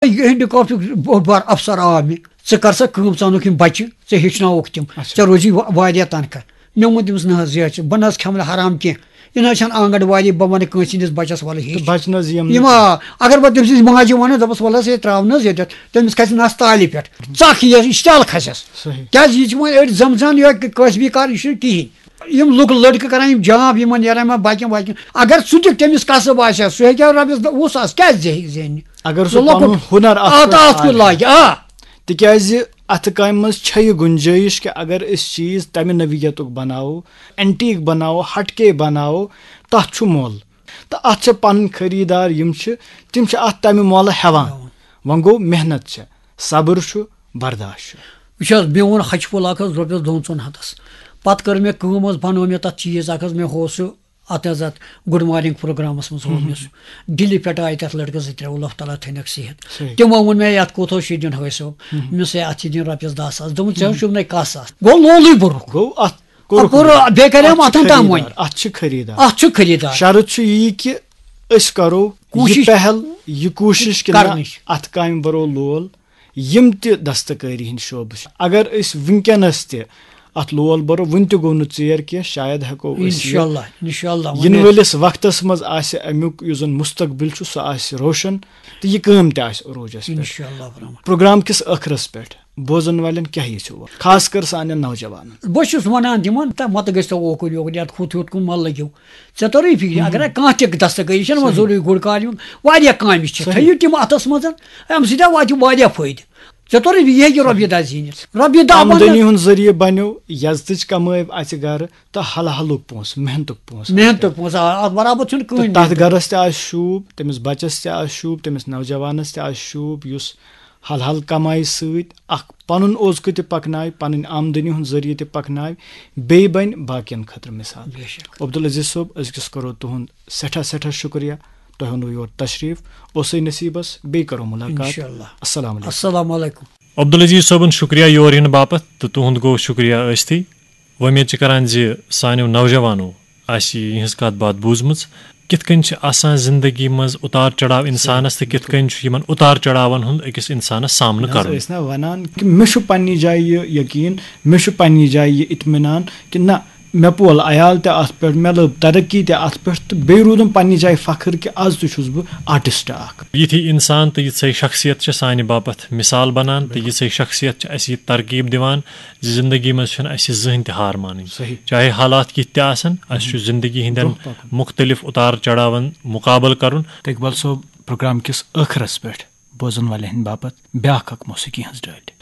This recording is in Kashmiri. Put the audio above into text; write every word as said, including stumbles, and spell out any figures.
یہِ ہینڈی کرافٹُک بوٚڑ بار افسر آو مےٚ، ژٕ کر سا کٲم، ژٕ انُکھ یِم بچہِ، ژٕ ہیٚچھناوُکھ تِم، اچھا۔ ژےٚ روزی وا-، واریاہ تنخواہ۔ مےٚ ووٚن تٔمِس، نہ حظ، یہِ حظ چھِ، بہٕ نہ حظ کھٮ۪مہٕ نہٕ حرام کینٛہہ، یہِ نہ حظ چھَنہٕ آنگن واڑی، بہٕ وَنہٕ کٲنٛسہِ ہِنٛدِس بچس وَلہٕ تہٕ ہیٚچھ۔ بچہِ نہ حظ یِم یِم نہٕ آ، اگر بہٕ تٔمۍ سٕنٛزِ ماجہِ وَنہٕ، دَپَس، وَلہٕ حظ، ہے، ترٛاو نہ حظ ییٚتٮ۪تھ، تٔمِس کھسہِ نَس تالہِ پٮ۪ٹھ، ژَکھ یِیَس، اِشتعال کھسٮ۪س۔ صحیح۔ کیٛازِ یہِ چھِ وۄنۍ أڑۍ زَمزان یا کٲسبی کار، یہِ چھُنہٕ کِہیٖنۍ۔ یِم لُکھ لٔڑکہٕ کران، یِم جاب یِمن نیران یِمن باقین باقین، اگر سُہ تہِ تٔمِس کسب آسہِ ہا، سُہ ہیٚکہِ ہا رۄپیَس دَہ وُہ ساس کیٛازِ زینہِ؟ اگر سُہ سُہ لۄکُٹ پنُن ہُنر اتھ آ، پٮ۪ٹھ تہٕ اتھ کُن آسہِ۔ لاگہِ، آ۔ تِکیازِ اتھٕ کامہِ منٛز چھےٚ یہِ گُنجٲیِش کہِ اگر أسۍ چیٖز تمہِ نوعیتُک بناوو، اینٹیٖک بناوو، ہٹکے بناوو، تتھ چھُ مۄل۔ تہٕ اتھ چھِ پنٕنۍ خریٖدار یِم چھِ، تِم چھِ اتھ تمہِ مۄلہٕ ہٮ۪وان۔ ہٮ۪وان۔ وۄنۍ گوٚو محنت چھےٚ، صبر چھُ، برداشت چھُ۔ وٕچھ حظ، مےٚ ووٚن ہچہِ پھوٚل اکھ حظ رۄپیَس دۄن ژۄن ہَتَس۔ پَتہٕ کٔر مےٚ کٲم حظ، بَنوو مےٚ تَتھ چیٖز اَکھ حظ، مےٚ ہوو سُہ اَتھ حظ اَتھ گُڈ مارنِنٛگ پروگرامَس منٛز ہوو مےٚ سُہ۔ دِلہِ پٮ۪ٹھ آیہِ تَتھ لٔڑکَس زٕ ترٛےٚ، اللہ تعالیٰ تھٲینَکھ صحت۔ صحیح۔ تِمو ووٚن مےٚ، یَتھ کوٗتاہ چھُے دیُن؟ ہٲے صٲب، مےٚ سا اَتھ چھِ دِنۍ رۄپیَس دَہ ساس۔ دوٚپُن، ژےٚ حظ چھُو نَے کَس اَتھ۔ گوٚو لولٕے بوٚرُکھ۔ گوٚو اَتھ کوٚرُکھ اَتھ کوٚر نہٕ۔ بیٚیہِ کَریوم اَتھ چھُ اَتھَن تام خریٖدار، وۄنۍ۔ اَتھ چھُ خریٖدار۔ اَتھ چھُ خریٖدار۔ شرط چھُ یی کہِ أسۍ کَرو یہِ کوٗشِش پہل، یہِ کوٗشِش کہِ نہ، کَرنٕچ۔ اَتھ کامہِ بَرو لول۔ یِم تہِ دستکٲری ہٕنٛدۍ شعبہٕ چھِ، اگر أسۍ وٕنکیٚنَس تہِ اَتھ لول بَرو، وٕنہِ تہِ گوٚو نہٕ ژیر کینٛہہ، شاید ہٮ۪کو أسۍ یہِ انشاءاللہ، انشاءاللہ، وۄنۍ یِنہٕ وٲلِس وقتَس منٛز آسہِ اَمیُک یُس زَن مُستقبِل چھُ، سُہ آسہِ روشَن تہٕ یہِ کٲم تہِ آسہِ عروٗجَس پٮ۪ٹھ۔ انشاءاللہ الرحمن۔ پروگرام کِس ٲخرَس پٮ۪ٹھ بوزَن والٮ۪ن کیٛاہ یژھِو وَنُن، خاص کر سانٮ۪ن نوجوانَن؟ بہٕ چھُس وَنان تِمَن، تہٕ مَتہٕ گٔژھۍ تو اوکُن یوکُن، یَتھ ہُتھ ہیوٚت کُن مَہ لٔگِو۔ ژےٚ توٚرُے فِکرِ، اگر کانٛہہ تہِ دستکٲری چھَنہٕ وۄنۍ صحیح۔ ضروٗری گُرۍ کالہِ ہُنٛد، واریاہ کامہِ چھِ، صحیح۔ تھٲیِو تِم اَتھَس منٛز، اَمہِ سۭتۍ آو واتہِ واریاہ فٲیدٕ۔ ژےٚ توٚرُے فِکرِ، یہِ ہیٚکہِ رۄپیہِ دَہ زیٖنِتھ۔ رۄپیہِ دَہ بَنَن۔ آمدنی ہُنٛد ذٔریعہٕ بَنیو، یَزتٕچ کَمٲے اَژِ گَرٕ تہٕ حلحلُک پونٛسہٕ، محنتُک پونٛسہٕ۔ محنتُک پونٛسہٕ، آ، اَتھ برابر چھُنہٕ تہٕ کٕہٕنۍ تَتھ محنت۔ گَرَس تہِ آسہِ شوٗب، تٔمِس بَچَس تہِ آسہِ شوٗب، تٔمِس نوجوانَس تہِ آسہِ شوٗب، یُس حلحل کمایہِ سۭتۍ اکھ پنُن اوزکہٕ تہِ پکناوِ، پنٕنۍ آمدنی ہُنٛد ذٔریعہٕ تہِ پکناوِ، بیٚیہِ بنہِ باقین خٲطرٕ مثال۔ بے شک۔ عبدالعزیز صٲب، أزکِس کرو تُہُنٛد سٮ۪ٹھاہ سٮ۪ٹھاہ شُکریہ، تۄہہِ اوٚنوٕ یور تشریف، اوسُے نصیٖبس، بیٚیہِ کرو مُلاقات۔ انشاءاللہ۔ السلام علیکم۔ السلام علیکم۔ عبدالعزیز صٲبُن شُکریہ یور یِنہٕ باپتھ تہٕ تُہُنٛد گوٚو شُکریہ ٲسۍتھٕے۔ وۄمید چھِ کران زِ سانیو نوجوانو آسہِ یِہٕنٛز کتھ باتھ بوٗزمٕژ۔ کِتھ کٔنۍ چھِ آسان زندگی منٛز اُتار چڑاو انسانس تہٕ کِتھ کٔنۍ چھُ یِمن اُتار چڑاون ہُنٛد أکِس انسانس سامنہٕ نہ حظ، کرُن۔ أسۍ نہ ونان کہِ مےٚ چھُ پننہِ جایہِ یہِ یقین، مےٚ چھُ پننہِ جایہِ یہِ اطمینان کہِ نہ، مےٚ پول عیال تہِ اتھ پٮ۪ٹھ، مےٚ لٔب ترقی تہِ اتھ پٮ۪ٹھ، تہٕ بیٚیہِ روٗدُم پننہِ جایہِ فخر کہِ از تہِ چھُس بہٕ آرٹسٹ اکھ۔ یِتھی انسان تہٕ یِژھے شخصیت چھِ سانہِ باپتھ مثال بنان تہٕ یِژھے شخصیت چھِ اسہِ یہِ ترغیب دِوان زِ زندگی منٛز چھُنہٕ اسہِ زٕہٕنۍ تہِ ہار مانٕنۍ۔ صحیح۔ چاہے حالات کِتھ تہِ آسن، اسہِ چھُ زندگی ہٕنٛدٮ۪ن برونٛہہ پکُن۔ مُختلف اُتار چڑاون مُقابلہٕ کرُن۔ تہٕ اقبال صٲب، پروگرام کِس ٲخرس پٮ۪ٹھ بوزن والٮ۪ن ہٕنٛدِ باپتھ بیاکھ اکھ موسیقی ہٕنٛز ڈٲلۍ۔